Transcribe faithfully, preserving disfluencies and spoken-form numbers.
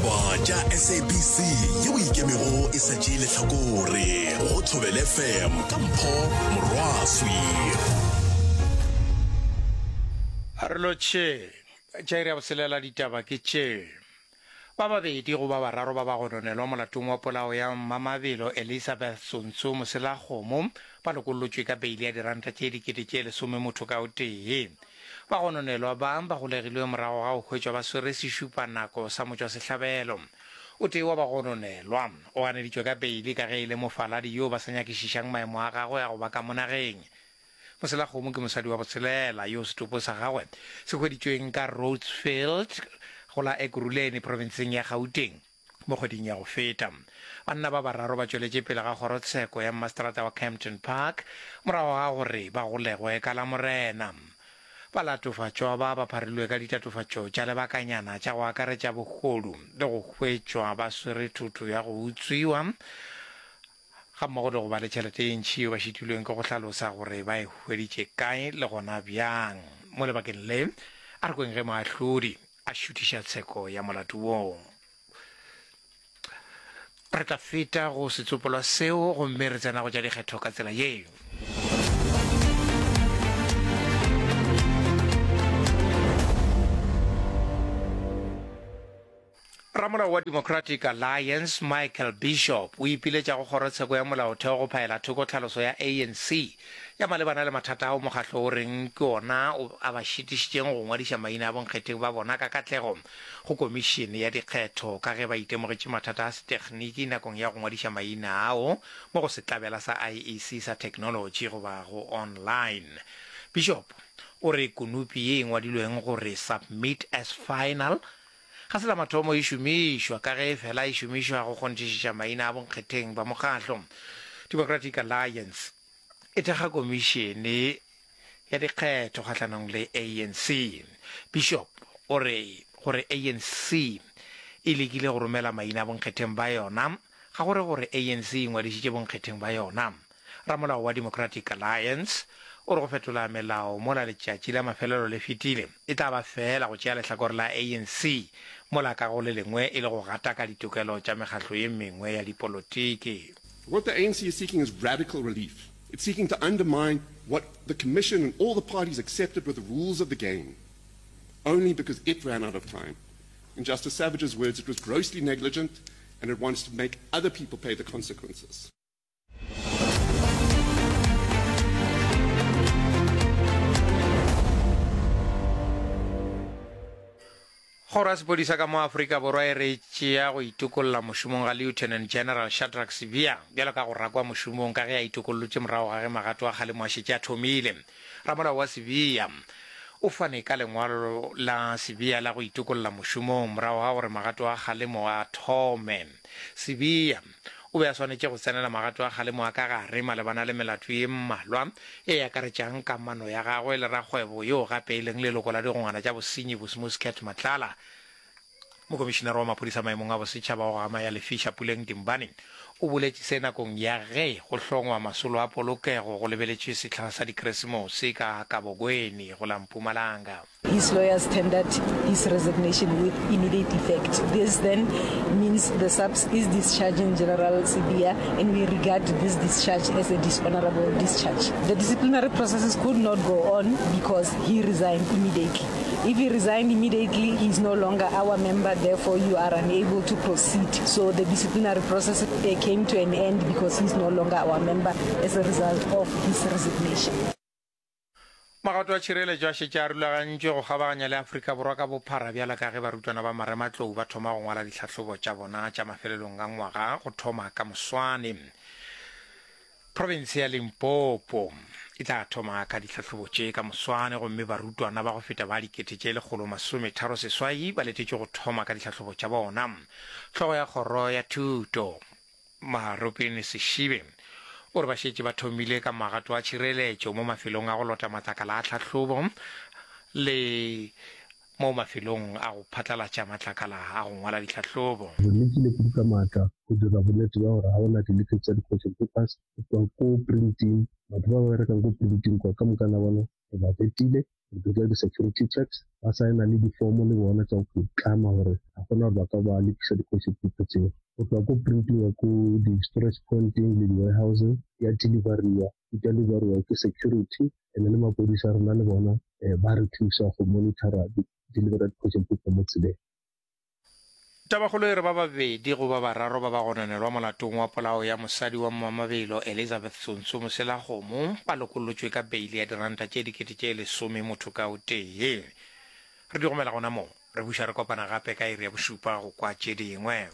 Ditaba tša S A B C yeo ikemego e sa tšee lehlakore go Thobela F M ka Mpho Morwaswi. Re lotšhe tša iri ya boselela. Ditaba ke tše: ba babedi go ba bararo ba ba gononelwa molatong wa polao ya Mmamabelo Elizabeth Tsontso Moselakgomo ba lokollotšwe ka beile ya diranta tše dikete tše lesome motho ka o tee. Ba gononelwa ba ba golegilwe morago ga go hwetšwa ba swere sešupanako sa motšwasehlabelo. O tee wa bagononelwa o ganeditšwe ka beile ka ge e le mofaladi yo ba sa nyakišišang maemo a gagwe a go ba ka mo nageng. Moselakgomo ke mosadi wa botshelela yo setopo sa gagwe se hweditšweng ka Rhodesfield go la Ekurhuleni profenseng ya Gauteng mo kgweding ya go feta. Banna ba bararo ba tšweletše pele ga kgorotsheko ya mmaseterata wa Kempton Park morago ga gore ba golegwe ka Lamorena. Balatofatšwa ba ba pharilwe ka ditatofatšo tša lebakanyana tša go akaretša bohodu le go hwetšwa ba swere thoto ya go utswiwa gammogo le go ba le tšhelete ye ntši yeo ba šitilweng ke go hlalosa gore ba e hweditše kae le gona bjang. Mo lebakeng le, a re kweng ge moahlodi a šuthiša tsheko ya molato woo. Re tla feta go setsopolwa seo gomme re tsena go tša dikgetho ka tsela ye. Ramolao wa Democratic Alliance Michael Bishop o ipiletša go kgorotsheko ya molaotheo go phaela thoko tlhaloso ya A N C ya malebana le mathata ao mokgatlo o reng ke ona a ba šitišitšeng go ngwadiša maina a bonkgetheng ba bona ka katlego go komišene ya dikgetho, ka ge ba itemogetše mathata a setegniki nakong ya go ngwadiša maina ao mo go setlabela sa I E C sa technology goba go online. Bishop o re konopi ye e ngwadilweng gore "submit as final" ga se la mathomo e šomišwa, ka ge fela e šomišwa go kgonthišiša maina a bonkgetheng ba mokgatlo. Democratic Alliance e thekga komišene ya dikgetho kgahlanong le A N C. Bishop o re gore A N C e lekile go romela maina a bonkgetheng ba yona ga gore gore A N C e ngwadišitše bonkgetheng ba yona. Ramolao wa Democratic Alliance o re go fetola melao mola letšatši la mafelelo le fetile e tla ba fela go tšea lehlakore la A N C, mola ka go le lengwe e le go gataka ditokelo tša mekgatlo ye mengwe ya dipolotiki. What the A N C is seeking is radical relief. It's seeking to undermine what the Commission and all the parties accepted were the rules of the game, only because it ran out of time. In Justice Savage's words, it was grossly negligent and it wants to make other people pay the consequences. Kgoro ya sepodisa ka mo Afrika Borwa e re tšea go itokolla mošomong ga Lieutenant General Shadrack Sibiya bjalo ka go rakwa mošomong, ka ge a itokollotše morago ga ge magato a kgalemo a šetše a thomile. Ramolao wa Sibiya o fane ka lengwalo la Sibiya la go itokolla mošomong morago ga gore magato a kgalemo a thome. Sibiya o be a swanetše go tsenela magato a kgalemo a ka gare malebana le melato ye mmalwa e akaretšang kamano ya gagwe le rakgwebo yo gape e leng leloko la digongwana tša bosenyi Bosmus Cat Matlala. Mokomišenare wa maphodisa maemong a bosetšhaba wa go gama ya lefiša Puleng Dimbane o boletše se nakong ya ge go hlongwa masolo a polokego go lebeletšwe sehla sa dikeresemose ka Kabokweni go la Mpumalanga. His lawyers tendered his resignation with immediate effect. This then means the S A P S is discharging General Sibiya, and we regard this discharge as a dishonorable discharge. The disciplinary processes could not go on because he resigned immediately. If he resigned immediately, he is no longer our member, therefore you are unable to proceed. So the disciplinary process uh, came to an end because he's no longer our member as a result of his resignation. Magato a tšhireletšo a šetše a rulagantšwe go kgabaganya le Afrika Borwa ka bophara bjalo ka ge barutwana ba marematlou ba thoma go ngwala ditlhahlobo tša bona tša mafelelong a ngwaga go thoma ka moswane. Province ya Limpopo e tla thoma ka ditlhahlobo tše ka moswane, gomme barutwana ba go feta ba dikete tše lekgolo masometharo seswai ba letetšwe go thoma ka ditlhahlobo tša bona. Hlogo ya kgoro ya thuto Maropene Seshibe o re ba šetše ba thomile ka magato a tšhireletšo mo mafelong a go lota matlakala a tlhahlobo le mo mafelong a go phatlalatša matlakala a go ngwala ditlhahlobo. Re lekile kudu ka maatla go dira bonnete bja gore ga go na di-leakage tša di-question papers go tšwa ko printing. Batho ba ba berekang ko printing kwa ka moka na bona re ba vetile Re dira di-security checks, ba saena le difomo le bona tša go tlama gore ga gona gore ba ka ba lekisa di-question paper tseo. Go tloga ko printing ko di-storage pointeng le di-warehouseng ya deliveriwa, di deliveriwa ke security and le maphodisa a rena le bona um ba re thusa go monitora delivery ya di-question paper mo tseleng. Tabakgolo e re ba babedi go ba bararo ba ba gononelwa molatong wa polao ya mosadi wa mmamabelo Elizabeth Tsontso Moselakgomo ba lokollotšwe ka beile ya diranta tše dikete tše lesome motho ka o tee. Re di gomela gona mo, re buša re kopana gape ka iri ya bošupa go kwa tše dingwe.